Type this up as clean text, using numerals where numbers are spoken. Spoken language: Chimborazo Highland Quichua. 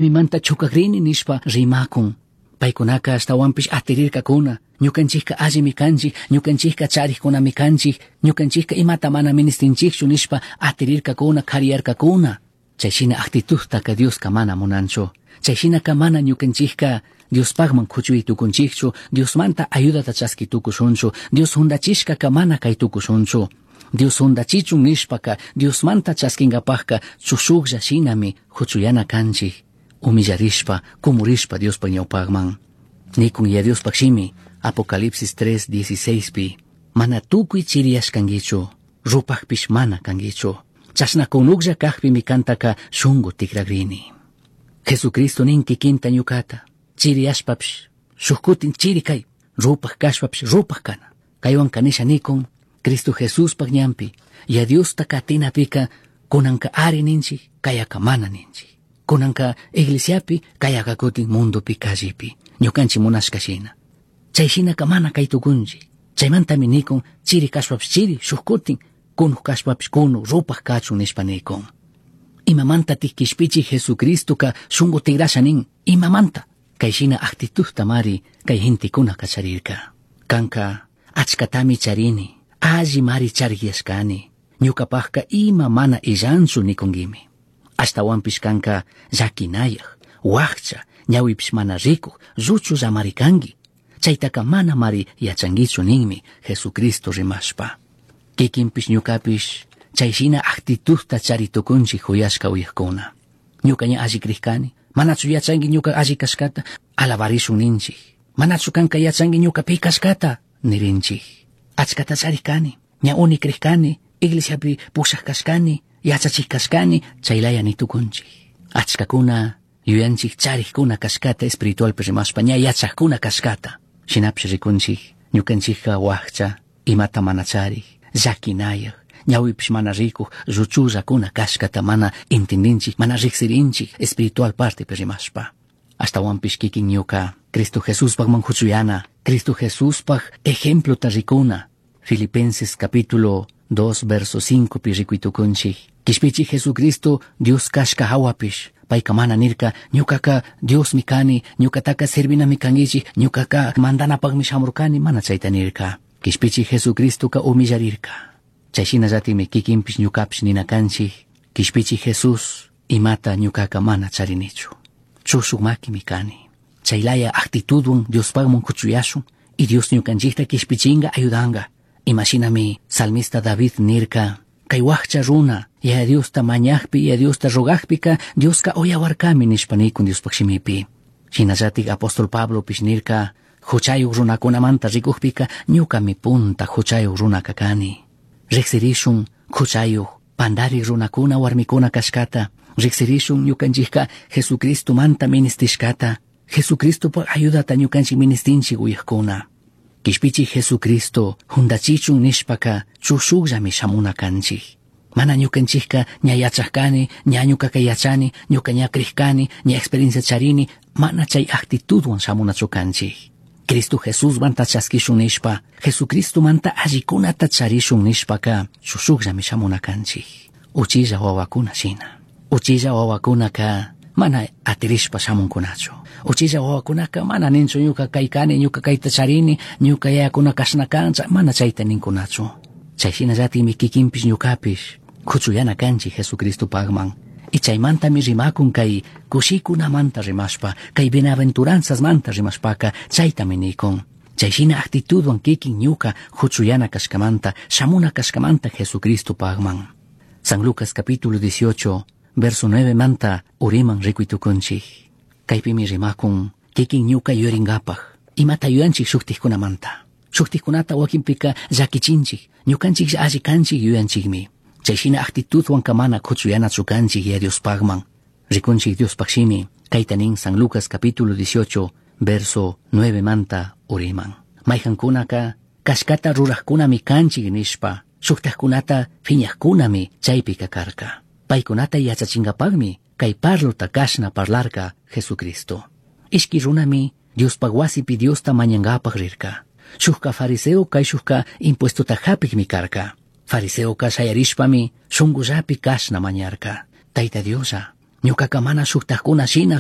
Mimanta chukakrini nishpa rimakun. Paykunaka ashtawanpish atirirkakuna. Ñukanchikka allimi kanchik, ñukanchikka charikkunami kanchik, ñukanchikka imata mana ministinchikchu nishpa atirirkakuna, kariyarkakuna. Chay shina actitudtaka Dioska mana munanchu. Chay shinaka mana ñukanchikka Diospakman kuchuy tukunchikchu, Diosmanta ayudata chaski tukushunchu, Dios hundachishkaka mana kay tukushunchu. Dios hundachichun nishpaka Diosmanta chaskinkapakka chushuklla shinami huchuyana kanchik. Humillarishpa, kumurishpa Diospa ñawpakman. Nikun ya Diospak shimi, Apocalipsis 3:16 pi. Mana tukuy chiriyashkankichu, rupakpish mana kankichu. Chashna kunuklla kakpimi kantaka shunku tikragrini. Jesucristo nin kikinta ñukata, chiriyashpapish, shuk kutin chiri kay, rupak kashpapish rupak kana. Kaywan kanisha nikun, Cristo Jesuspak ñanpi, ya Diosta katinapika kunanka ari ninchik, kayaka mana ninchik. Kunanka iglesiapi, kayaka kutin mundopi callepi, ñukanchik munashka shina. Chay shinaka mana kay tukunchik. Chaymantami nikun, chiri kashpapish chiri, shuk kutin, kunuk kashpapish kunuk, rupak kachun nishpa nikun. Imamantatik kishpichik Jesucristoka shunku tigrasha nin, imamanta. Kay shina actitudta mari kay gentekuna kacharirka. Kanka achkatami charini, alli mari chariyashkani, ñukapakka ima mana illanchu nikunkimi. Ashtawanpish kanka llakinayaj, wakcha, ñawipish mana rikuj, lluchullamari kanki. Chaytaka mana mari yachankichu ninmi Jesucristo rimashpa. Kikinpish ñukapish chay shina actitudta chari tukunchik huyashka uyajkuna. Ñuka ña alli krikani, manachu yachanki ñuka alli kashkata, alabarishun ninchik. Manachu kanka yachanki ñuka pi kashkata, nirinchik. Achkata charik kani, ña uni krikani, iglesiapi pushak kashkani, yachachik kashkani, chaylaya nitukunchik. Achkakuna yuyanchik charikkuna kashkata espiritualpi rimashpa, ña yachakuna kashkata. Shinapish rikunchik, ñukanchikka wakcha, imata mana charik, llakinayaj, ñawipish mana rikuj, lluchullakuna kashkata mana entendinchik, mana riksirinchik espiritual partepi rimashpa. Ashtawanpish kikin ñuka, Cristo Jesuspakman huchuyana, Cristo Jesuspak ejemplota rikuna. Filipenses capítulo 2 verso 5 pi rikuitukunchik. Kishpichik Jesucristo Dios kashka hawapish. Payka mana nirka, ñukaka Diosmi kani, ñukataka servinami kankichik, ñukaka mandanapakmi shamurkani, mana chayta nirka. Kishpichik Jesucristoka humillarirka. Chay shinallatimi kikinpish ñukapish nina kanchik, Kishpichik Jesús imata ñukaka mana charinichu. Chushuk makimi kani. Chaylaya actitudwan Diospakman kuchuyashun y Dios ñukanchikta kishpichinga ayudanga. Imashinami salmista David nirka, kay wakcha runa, ya Diosta mañakpi, ya Diosta rogakpika, Dioska uyawarkami nishpa nikun Diospak shimipi. Shinallatik apóstol Pablo pish nirka, huchayuk runakunamanta rikukpika, ñukami punta huchayuk runaka kani. Riksirishun huchayuk, pandarik runakuna warmikuna kashkata, riksirishun ñukanchikka Jesucristo manta ministishkata, Jesucristopak ayudata ñukanchik ministinchik uyakuna. Kishpichik Jesucristo hundachichun nishpaka chushukllami shamuna kanchik. Mana ñukanchikka ña yachak kani, ña ñukaka yachani, ñuka ña krikani, ña experiencia charini, mana chay actitudwan shamunachu kanchik. Cristo Jesús manta chaskishun nishpa, Jesucristo manta allikunata charishun nishpaka chushukllami shamuna kanchik. Uchilla wawakuna shina. Uchilla wawakunaka mana atirishpa shamunkunachu. Uchilla wawakunaka mana ninchu ñuka kaykani, ñuka kayta charini, ñuka yayakuna kashna kancha, mana chayta ninkunachu. Chay shinallatimi kikinpish ñukapish kuchuyana kanchik Jesucristopakman. Y chaymantami rimakun kay kushikunamanta rimashpa, kay bienaventuranzasmanta rimashpaka chaytami nikun. Chay shina actitudwan kikin ñuka huchuyana kashkamanta, shamuna kashkamanta Jesucristopakman. San Lucas capítulo 18, verso 9 manta uriman rikuytukunchik. Kaypimi rimakun kikin ñuka yuringapak, imata yuyanchik shuktikkunamanta. Shuktikkunata wakinpika llakichinchik, ñukanchik alli kanchik yuyanchikmi. Chay shina actitudwan mana kuchuyanachu kanchik ya Diospakman. Rikunchik Diospaq shimi, kayta nin San Lucas capítulo 18, verso 9 manta uriman. Mayhankunaka kashkata rurajkunami kanchik nishpa, shuktajkunata phiñajkunami chaypika karka. Paykunata yachachinkapakmi kay parlota kashna parlarka Jesucristo. Ishki runami Diospaq wasipi Diosta mañankapak rirka. Shukka fariseo kay shukka impuestota hapikmi karka. Fariseoka shayarishpami shunkullapi kashna mañarka. Tayta Dioslla, Ñucaca mana shujtajcuna shina.